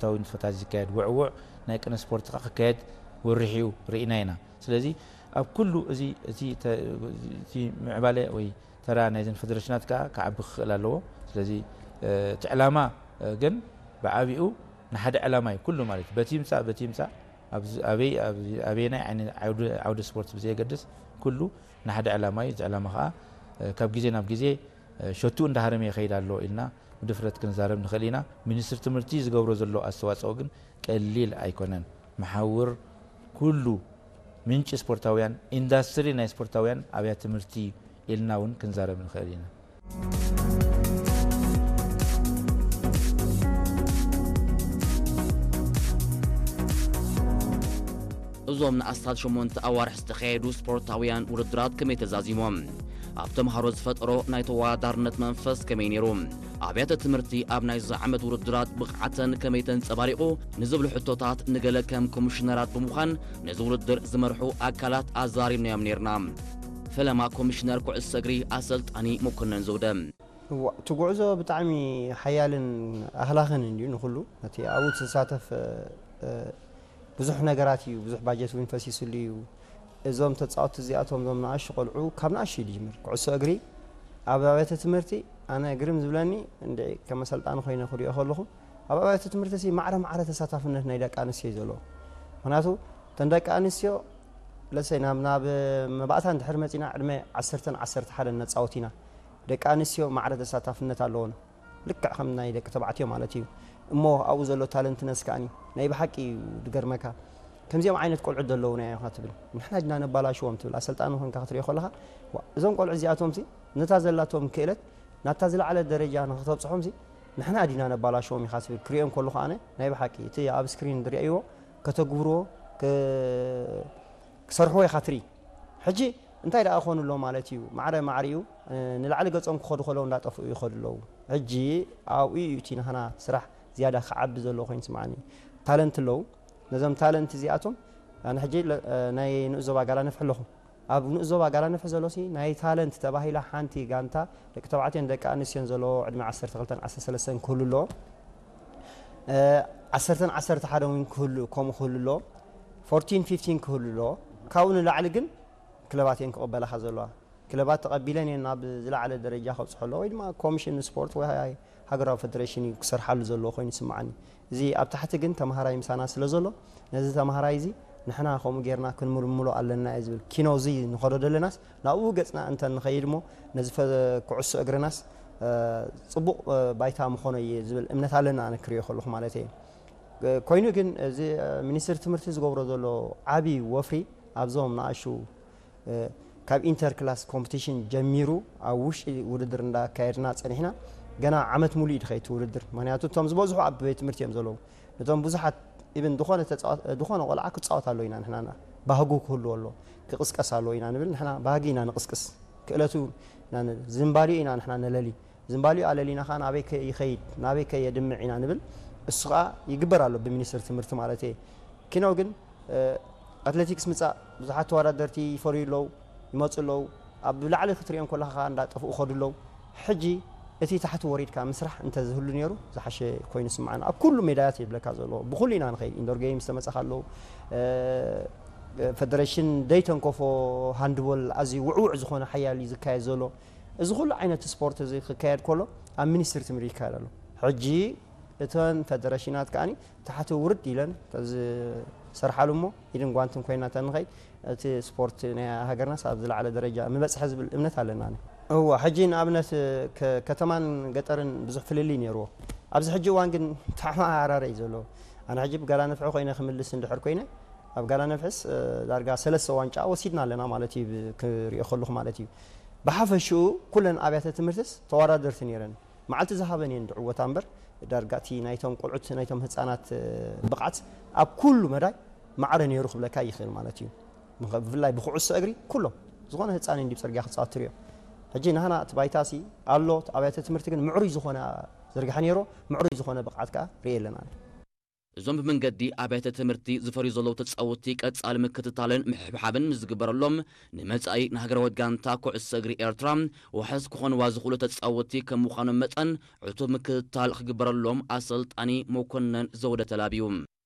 ስፖርታዊ ንጥፈታት ዝካየድ ውዕውዕ ናይ ቅነ ስፖርት ከዓ ክካየድ ወርሕ እዩ ርኢና ኢና። ስለዚ ኣብ ኩሉ እዚ እቲ ተ- እቲ ምዕባለ ወይ ተራ ናይዘን ፌደሬሽናት ከዓ ክዓቢ ክኽእል ኣለዎ። ስለዚ እቲ ዕላማ ግን ብዓቢኡ ንሓደ ዕላማ እዩ ኩሉ ማለት እዩ። በቲ ይምፃእ በቲ ይምፃእ ኣብዚ ኣበይ ኣብዚ ኣበየናይ ዓይነት ዓውዲ ዓውዲ ስፖርት ብዘየገድስ ኩሉ ንሓደ ዕላማ እዩ። እዚ ዕላማ ከዓ ካብ ግዜ ናብ ግዜ ሸቱ እንዳሃረመ ይኸይድ ኣሎ ኢልና ብድፍረት ክንዛረብ ንኽእል ኢና። ሚኒስትሪ ትምህርቲ ዝገብሮ ዘሎ ኣስተዋፅኦ ግን ቀሊል ኣይኮነን። መሓውር ኩሉ ምንጪ ስፖርታውያን ኢንዳስትሪ ናይ ስፖርታውያን ኣብያተ ትምህርቲ ኢልና እውን ክንዛረብ ንኽእል ኢና። እዞም ንኣስታት ሸሞንተ ኣዋርሕ ዝተኻየዱ ስፖርታውያን ውድድራት ከመይ ተዛዚሞም? ኣብ ተምሃሮ ዝፈጠሮ ናይ ተወዳዳርነት መንፈስ ከመይ ነይሩ? ኣብያተ ትምህርቲ ኣብ ናይዚ ዓመት ውድድራት ብቕዓተን ከመይ ተንጸባሪቑ ንዝብሉ ሕቶታት ንገለ ከም ኮሚሽነራት ብምዃን ነዚ ውድድር ዝመርሑ ኣካላት ኣዛሪብናዮም ነይርና። ፈለማ ኮሚሽነር ኩዕሶ እግሪ ኣሰልጣኒ መኮነን ዘውደ። እዋ፣ እቲ ጉዕዞ ብጣዕሚ ሓያልን ኣህላኽን እንድዩ ንኹሉ። ነቲ ኣብኡ ዝሳተፍ ብዙሕ ነገራት እዩ፣ ብዙሕ ባጀት እውን ፈሲስሉ እዩ። እዞም ተፃወትቲ እዚኣቶም እዞም ንኣሹ ቆልዑ ካብ ንኣሹ እዩ ዝጅምር። ኩዕሶ እግሪ ኣብ ኣብያተ ትምህርቲ ኣነ ግርም ዝብለኒ እንድዒ ከም ኣሰልጣኒ ኮይነ ክሪኦ ከለኹ ኣብ ኣብያተ ትምህርቲ ሲ ማዕረ ማዕረ ተሳታፍነት ናይ ደቂ ኣንስትዮ እዩ ዘለዎ። ምክንያቱ እተን ደቂ ኣንስትዮ ለሰይ ናብ ናብ መባእታ እንድሕር መፂና ዕድመ ዓሰርተን ዓሰርተ ሓደን ነፃወት ኢና። ደቂ ኣንስትዮ ማዕረ ተሳታፍነት ኣለዎን። ልክዕ ከም ናይ ደቂ ተባዕትዮ ማለት እዩ። እሞ ኣብኡ ዘሎ ታለንትነስ ከኣኒ ናይ ብሓቂ እዩ ድገርመካ። ከምዚኦም ዓይነት ቆልዑት ዘለውና እዮም ኢኻ ትብል። ንሕና ዲና ነባላሽዎም ትብል። ኣሰልጣኒ ኮንካ ክትሪኦ ከለኻ ዋ፣ እዞም ቆልዑ እዚኣቶምሲ ነታ ዘላቶም ክእለት ናታ ዝለዓለ ደረጃ ንኽተብፅሖምሲ ንሕና ዲና ነባላሽዎም ኢኻ ትብል። ክሪኦም ከለኹ ኣነ ናይ ብሓቂ እቲ ኣብ ስክሪን ዝሪኣይዎ ከተግብርዎ ክ- ክሰርሕዎ ኢኻ ትርኢ። ሕጂ እንታይ ደኣ ክኾኑ ኣሎ ማለት እዩ? ማዕረ ማዕሪኡ ንላዕሊ ገጾም ክኸዱ ከለዉ እንዳጠፍኡ ይኸዱ ኣለዉ። ሕጂ ኣብኡ እዩ እቲ ናህና ስራሕ ዝያዳ ክዓቢ ዘለዎ ኮይኑ ይስምዓኒ። ታለንት ኣለዉ። ነዞም ታለንት እዚኣቶም ኣነ ሕጂ ለ- ናይ ንኡስ ዞባ ጋላ ነፍሒ ኣለኹ። ኣብ ንኡስ ዞባ ጋላ ነፍሒ ዘሎ ሲ ናይ ታለንት ተባሂላ ሓንቲ ጋንታ ደቂ ተባዕትዮን ደቂ ኣንስትዮን ዘለዎ ዕድመ ዓሰርተ ክልተን ዓሰርተ ሰለስተን ክህሉ ኣለዎ። ዓሰርተን ዓሰርተ ሓደን እውን ክህሉ ከምኡ ክህሉ ኣለዎ። ፎርቲን ፊፍቲን ክህሉ ኣለዎ። ካብኡ ንላዕሊ ግን ክለባት እየን ክቕበላኻ ዘለዋ። ክለባት ተቐቢለን እየን ናብ ዝለዓለ ደረጃ ከብፅሖ ኣለዎ ወይ ድማ ኮሚሽን ስፖርት ወይ ሃገራዊ ፌደሬሽን እዩ ክሰርሓሉ ዘለዎ ኮይኑ ይስምዓኒ። እዚ ኣብ ታሕቲ ግን ተምሃራይ ምሳና ስለ ዘሎ ነዚ ተምሃራይ እዚ ንሕና ከምኡ ጌርና ክንምልምሎ ኣለና እየ ዝብል። ኪኖ እዚ ንኸዶ ደለናስ ናብኡ ገፅና እንተ ንኸይድ እሞ ነዚ ፈ- ኩዕሶ እግርናስ ፅቡቕ ባይታ ምኾኖ እየ ዝብል እምነት ኣለና ኣነ ክሪኦ ከለኹ ማለት እየ። ኮይኑ ግን እዚ ሚኒስትሪ ትምህርቲ ዝገብሮ ዘሎ ዓብዪ ወፍሪ ኣብዞም ንኣሹ ካብ ኢንተር ክላስ ኮምፒቲሽን ጀሚሩ ኣብ ውሽጢ ውድድር እንዳካየድና ፀኒሕና ገና ዓመት ሙሉእ እዩ ድኸይቲ ውድድር። ምክንያቱ እቶም ዝበዝሑ ኣብ ቤት ትምህርቲ እዮም ዘለዉ። ነቶም ብዙሓት ኢብን ዝኾነ ተፃዋት- ዝኾነ ቆልዓ ክፃወት ኣሎ ኢና ንሕና ባህጉ ክህልዎ ኣሎ ክቕስቀስ ኣሎ ኢና ንብል። ንሕና ባህጊ ኢና ንቕስቅስ ክእለቱ ኢና ንብል። ዝንባሊኡ ኢና ንሕና ነለሊ። ዝንባሊኡ ኣለሊና ከዓ ናበይ ከ ይኸይድ ናበይ ከ የድምዕ ኢና ንብል። እሱ ከዓ ይግበር ኣሎ ብሚኒስትሪ ትምህርቲ ማለት እየ። ኪኖ ግን ኣትሌቲክስ ምፃእ ብዙሓት ተወዳደርቲ ይፈርዩ ኣለዉ ይመፁ ኣለዉ። ኣብ ላዕሊ ክትሪኦም ከለካ ከዓ እንዳጠፍኡ ከዱ ኣለዉ። ሕጂ እቲ ታሕቲ ወሪድካ ምስራሕ እንተዝህሉ ነይሩ ዝሓሸ ኮይኑ ስምዓና። ኣብ ኩሉ ሜዳያት ይብለካ ዘሎ ብኩሉ ኢና ንኸይድ ኢንዶር ጌምስ ተመፀኻ ኣለዉ። ፈደሬሽን ደይተንከፎ ሃንድቦል ኣዝዩ ውዕውዕ ዝኾነ ሓያል እዩ ዝካየድ ዘሎ። እዚ ኩሉ ዓይነት ስፖርት እዚ ክካየድ ከሎ ኣብ ሚኒስትሪ ትምህርቲ ይካየድ ኣሎ። ሕጂ እተን ፈደረሽናት ከዓኒ ታሕቲ ውርድ ኢለን ዝሰርሓሉ እሞ ኢድን ጓንትን ኮይና ተንኸይድ እቲ ስፖርት ናይ ሃገርናስ ኣብ ዝለዓለ ደረጃ ምበፅሐ ዝብል እምነት ኣለና። እዋ ሕጂ ንኣብነት ከተማን ገጠርን ብዙሕ ፍልልይ ነይርዎ። ኣብዚ ሕጂ እዋን ግን ተሓማራረ እዩ ዘሎ። ኣነ ሕጂ ብጋላ ነፍሒ ኮይነ ክምልስ እንድሕር ኮይነ ኣብ ጋላ ነፍሕስ ዳርጋ ሰለስተ ዋንጫ ወሲድና ኣለና ማለት እዩ ክሪኦ ከለኹ ማለት እዩ። ብሓፈሽኡ ኩለን ኣብያተ ትምህርትስ ተወዳደርቲ ነይረን። መዓልቲ ዝሃበን እየን ዝዕወታ እምበር ዳርጋ እቲ ናይቶም ቆልዑት ናይቶም ህፃናት ብቕዓት ኣብ ኩሉ መዳይ ማዕረ ነይሩ ክብለካ ይኽእል ማለት እዩ። ብፍላይ ብኩዕሶ እግሪ ኩሎም ዝኾነ ህፃን እንዲ ፅርግያ ክፃወት ትሪኦ። ሕጂ ናህና እቲ ባይታሲ ኣሎ ኣብያተ ትምህርቲ ግን ምዕሩይ ዝኾነ ዝርግሐ ነይሮ ምዕሩይ ዝኾነ ብቕዓት ከዓ ርእ የለና። እዞም ብመንገዲ ኣብያተ ትምህርቲ ዝፈርዩ ዘለዉ ተጻወትቲ ቀጻሊ ምክትታልን ምሕብሓብን ምስ ዝግበረሎም፣ ንመጻኢ ንሃገራዊት ጋንታ ኩዕሶ እግሪ ኤርትራ ዋሕስ ክኾንዋ ዝኽእሉ ተጻወትቲ ከም ምዃኖም መጠን፣ ዕቱብ ምክትታል ክግበረሎም ኣሰልጣኒ መኮነን ዘውደ ተላብዩ።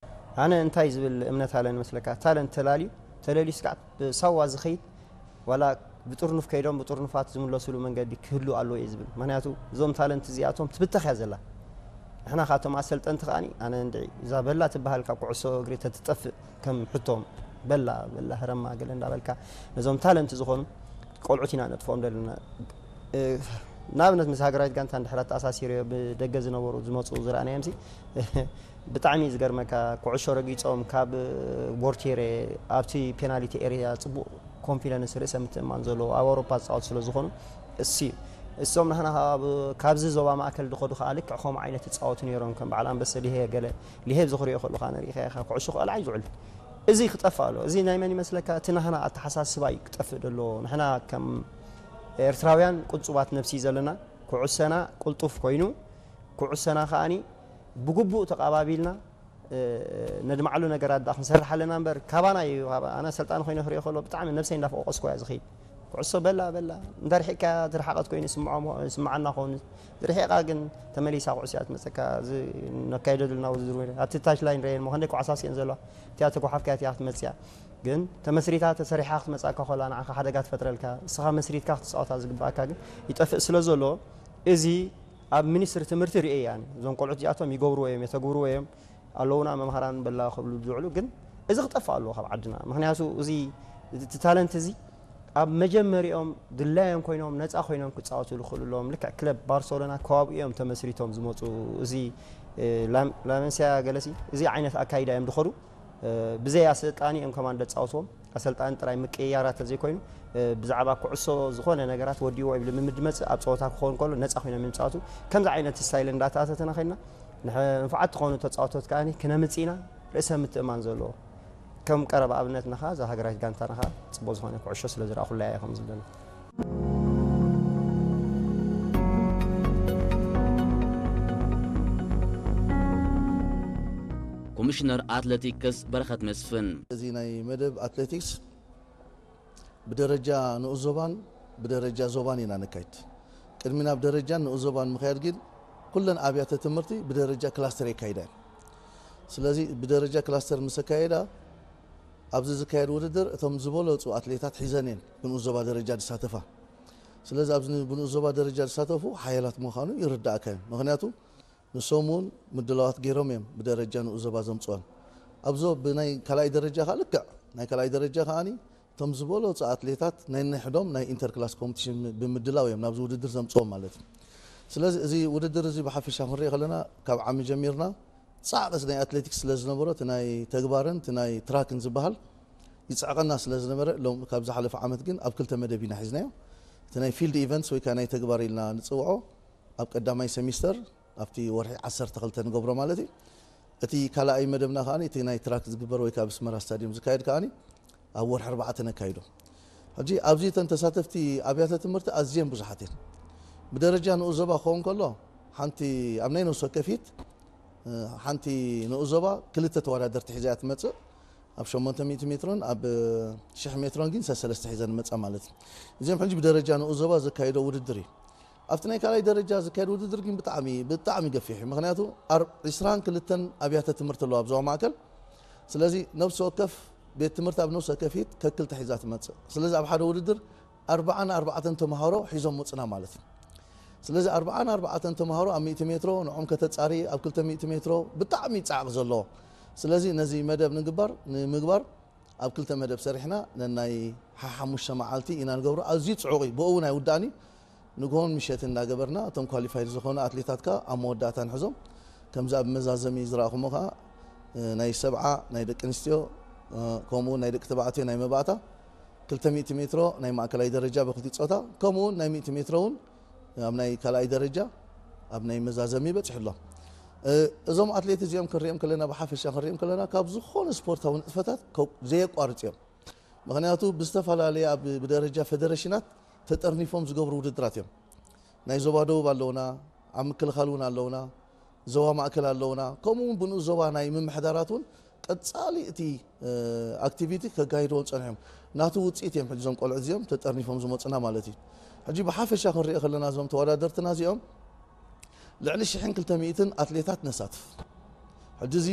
ኣነ እንታይ ዝብል እምነት ኣለኒ መስለካ? ታለንት ተላልዩ፣ ተለልዩ ስጋዕ ብሳዋ ዝኸይድ፣ ዋላ ብጥርኑፍ ከይዶም ብጥርኑፋት ዝምለሱሉ መንገዲ ክህሉ ኣለዎ እየ ዝብል። ምኽንያቱ እዞም ታለንት እዚኣቶም ትብተኽ እያ ዘላ። ንሕና ካብቶም ኣሰልጠንቲ ከኣኒ፣ ኣነ እንድዒ እዛ በላ ትበሃል ካብ ኩዕሶ እግሪ ተትጠፍእ፣ ከም ሕቶም በላ፣ በላ ህረማ ገለ እንዳበልካ ነዞም ታለንት ዝኾኑ ቆልዑት ኢና ነጥፍኦም ዘለና። እ፣ ንኣብነት ምስ ሃገራዊት ጋንታ እንድሕር ኣተኣሳሲረዮ ብደገ ዝነበሩ ዝመፁ ዝረኣናዮም ሲ ብጣዕሚ ዝገርመካ፣ ኩዕሾ ረጊፆም ካብ ቦርቴሬ ኣብቲ ፔናልቲ ኤሪያ ፅቡቕ ኮንፊደንስ፣ ርእሰ ምትእማን ዘለዎ ኣብ ኣውሮፓ ዝፃወቱ ስለ ዝኾኑ እሲ እሶም ናህና ካብ- ካብዚ ዞባ ማእከል ዝኸዱ ከዓ ልክዕ ከምኡ ዓይነት ይፃወቱ ነይሮም። ከም በዓል ኣንበሰ ሊሄ ገለ ሊሄ ዝኽሪኦ ከለኻ ንሪኢኻ ኢኻ ኩዕሾ ክቐልዓ እዩ ዝውዕል። እዚ ክጠፍእ ኣሎ። እዚ ናይ መን ይመስለካ? እቲ ናህና ኣተሓሳስባ እዩ ክጠፍእ ደሎ። ንሕና ከም ኤርትራውያን ቁንጹባት ነብሲ ዘለና፣ ኩዕሰና ቅልጡፍ ኮይኑ፣ ኩዕሰና ከኣኒ ብግቡእ ተቓባቢልና፣ እ፣ ነድማዕሉ ነገራት ደኣ ክንሰርሕ ኣለና እምበር፣ ካባና እዩ። ካባ-፣ ኣነ ኣሰልጣኒ ኮይነ ክሪኦ ከሎ ብጣዕሚ ነብሰይ እንዳፈቆቀስኩ እያ ዝኸይድ። ኩዕሶ በላ በላ፣ እንተ ርሒቅካ ትርሓቐት ኮይኑ ይስምዖም-፣ ይስምዓና ኸውን። ዝርሒቓ ግን ተመሊሳ ኩዕሶ እያ ትመጸካ። እዚ ነካይዶ ዘለና ውድድር ወይ ኣብቲ ታች ላይን ረየን እሞ ክንደይ ኳዕሳ ስየን ዘለዋ፣ እቲኣ ተጓሓፍካ እቲኣ ክትመጽእ እያ። ግን ተመስሪታ ተሰሪሓ ክትመጽኣካ ከላ ንዓኻ ሓደጋ ትፈጥረልካ። እስኻ መስሪትካ ክትጻወታ ዝግብኣካ ግን ይጠፍእ ስለ ዘሎ፣ እዚ ኣብ ሚኒስትሪ ትምህርቲ ርእየ እያ። እዞም ቆልዑት እዚኣቶም ይገብርዎ እዮም፣ የተግብርዎ እዮም፣ ኣለዉና መምሃራን በላ ክብሉ ዝውዕሉ፣ ግን እዚ ክጠፍእ ኣለዎ ካብ ዓድና። ምኽንያቱ እዚ እቲ ታለንት እዚ ኣብ መጀመሪኦም ድላዮም ኮይኖም ነፃ ኮይኖም ክፃወቱ ዝኽእሉ ኣለዎም። ልክዕ ክለብ ባርሰሎና ከባቢኡ እዮም ተመስሪቶም ዝመፁ። እዚ፣ እ፣ ላም-፣ ላመንሲያ ገለሲ እዚ ዓይነት ኣካይዳ እዮም ዝኸዱ። እ፣ ብዘይ ኣሰልጣኒ እዮም ከማን ዘፃወትዎም። ኣሰልጣኒ ጥራይ ምቅይያራት ተዘይኮይኑ፣ እ፣ ብዛዕባ ኩዕሶ ዝኾነ ነገራት ወዲዎ ወይ ልምምድ መፅእ ኣብ ፀወታ ክኸውን ከሎ ነፃ ኮይኖም እዮም ዝፃወቱ። ከምዚ ዓይነት ስታይል እንዳተኣታተና ከይድና ንሕ-፣ ንፉዓት ዝኾኑ ተፃወቶት ከኣ ክነምፅእ ኢና። ርእሰ ምትእማን ዘለዎ ከም ቀረባ ኣብነትና ኸዓ እዛ ሃገራዊት ጋንታና ኸዓ ፅቡቅ ዝኾነ ኩዕሾ ስለ ዝረኣኹላ እያ ከምዚ ዘለና። ኮሚሽነር ኣትሌቲክስ በረኸት መስፍን። እዚ ናይ መደብ ኣትሌቲክስ ብደረጃ ንኡስ ዞባን ብደረጃ ዞባን ኢና ነካይድ። ቅድሚ ናብ ደረጃን ንኡስ ዞባን ምኽያድ ግን ኩለን ኣብያተ ትምህርቲ ብደረጃ ክላስተር የካይዳ እየን። ስለዚ ብደረጃ ክላስተር ምስ ኣካየዳ ኣብዚ ዝካየድ ውድድር እቶም ዝበለጹ ኣትሌታት ሒዘን እየን ብንኡስ ዞባ ደረጃ ዝሳተፋ። ስለዚ ኣብዚ ብንኡስ ዞባ ደረጃ ዝሳተፉ ሓያላት ምዃኑ ይርዳእካ እዩ። ምኽንያቱ ንሶም እውን ምድላዋት ገይሮም እዮም ብደረጃ ንኡስ ዞባ ዘምፅኦም። ኣብዞ ብናይ ካልኣይ ደረጃ ከዓ ልክዕ ናይ ካልኣይ ደረጃ ከዓኒ እቶም ዝበለፁ ኣትሌታት ናይ ነንሕዶም ናይ ኢንተርክላስ ኮምፒቲሽን ብምድላው እዮም ናብዚ ውድድር ዘምፅኦም ማለት እዩ። ስለዚ እዚ ውድድር እዚ ብሓፈሻ ክንሪኦ ከለና ካብ ዓሚ ጀሚርና ጻዕቂ ናይ ኣትሌቲክስ ስለ ዝነበሮ እቲ ናይ ተግባርን እቲ ናይ ትራክን ዝበሃል ይጽዕቐና ስለ ዝነበረ ሎም ካብ ዝሓለፈ ዓመት ግን ኣብ ክልተ መደብ ኢና ሒዝናዮ። እቲ ናይ ፊልድ ኢቨንትስ ወይ ከዓ ናይ ተግባር ኢልና ንጽውዖ ኣብ ቀዳማይ ሰሚስተር ኣብቲ ወርሒ ዓሰርተ ክልተ ንገብሮ ማለት እዩ። እቲ ካልኣይ መደብና ከኣ እቲ ናይ ትራክ ዝግበር ወይ ከዓ ኣብ ኣስመራ ስታድዮም ዝካየድ ከኣ ኣብ ወርሒ ኣርባዕተ ነካይዶ። ሕጂ ኣብዚ እተን ተሳተፍቲ ኣብያተ ትምህርቲ ኣዝየን ብዙሓት እየን። ብደረጃ ንኡስ ዞባ ክኸውን ከሎ ሓንቲ ኣብ ናይ ነፍሲ ወከፊት፣ እ፣ ሓንቲ ንኡስ ዞባ ክልተ ተወዳደርቲ ሒዛ እያ ትመጽእ። ኣብ ሸሞንተ ሚእቲ ሜትሮን ኣብ ሽሕ ሜትሮን ግን ሰሰለስተ ሒዘን ይመጻ ማለት እዩ። እዚኦም ሕጂ ብደረጃ ንኡስ ዞባ ዘካይዶ ውድድር እዩ። ኣብቲ ናይ ካልኣይ ደረጃ ዝካየድ ውድድር ግን ብጣዕሚ፣ ብጣዕሚ ገፊሕ እዩ። ምኽንያቱ ኣር-፣ ዕስራን ክልተን ኣብያተ ትምህርቲ ኣለዋ ኣብ ዞባ ማእከል። ስለዚ ነፍሲ ወከፍ ቤት ትምህርቲ ኣብ ነፍሲ ወከፊት ከክልተ ሒዛ ትመጽእ። ስለዚ ኣብ ሓደ ውድድር ኣርባዓን ኣርባዕተን ተምሃሮ ሒዞም መጹና ማለት እዩ። ስለዚ ኣርባዓን ኣርባዕተን ተምሃሮ ኣብ ሚእቲ ሜትሮ ንዖም ከተጻሪ ኣብ ክልተ ሚእቲ ሜትሮ ብጣዕሚ ጻዕቂ ዘለዎ። ስለዚ ነዚ መደብ ንግባር፣ ንምግባር ኣብ ክልተ መደብ ሰሪሕና ነናይ ሓሓሙሽተ መዓልቲ ኢና ንገብሮ። ኣዝዩ ጽዑቕ እዩ። ብኡ እውን ኣይውዳእን እዩ። ንግሆን ምሸትን እናገበርና እቶም ኳሊፋይድ ዝኾኑ ኣትሌታት ከኣ ኣብ መወዳእታ ንሕዞም። ከምዚ ኣብ መዛዘሚ ዝረኣኹሞ ከኣ፣ እ፣ ናይ ሰብዓ ናይ ደቂ ኣንስትዮ፣ እ፣ ከምኡ እውን ናይ ደቂ ተባዕትዮ ናይ መባእታ ክልተ ሚእቲ ሜትሮ ናይ ማእከላይ ደረጃ ብክልቲኡ ጾታ፣ ከምኡ እውን ናይ ሚእቲ ሜትሮ እውን ኣብ ናይ ካልኣይ ደረጃ ኣብ ናይ መዛዘሚ በጺሑ ኣሎ። እ፣ እዞም ኣትሌት እዚኦም ክንሪኦም ከለና፣ ብሓፈሻ ክንሪኦም ከለና፣ ካብ ዝኾነ ስፖርታዊ ንጥፈታት ከ-፣ ዘየቋርጽ እዮም። ምኽንያቱ ብዝተፈላለየ ኣብ፣ ብደረጃ ፌደሬሽናት ተጠርኒፎም ዝገብሩ ውድድራት እዮም። ናይ ዞባ ደቡብ ኣለውና፣ ኣብ ምክልኻል እውን ኣለውና። ዞባ ማእከል ኣለውና። ከምኡ እውን ብንኡስ ዞባ ናይ ምምሕዳራት እውን ቀጻሊ እቲ ኣክቲቪቲ ከጋይድዎም ጸኒሖም። ናቱ ውጽኢት እዮም ሕጂ እዞም ቆልዑ እዚኦም ተጠርኒፎም ዝመጹና ማለት እዩ። ሕጂ ብሓፈሻ ክንሪኦ ከለና እዞም ተወዳደርትና እዚኦም ልዕሊ ሽሕን ክልተ ሚእትን ኣትሌታት ነሳትፍ። ሕጂ እዚ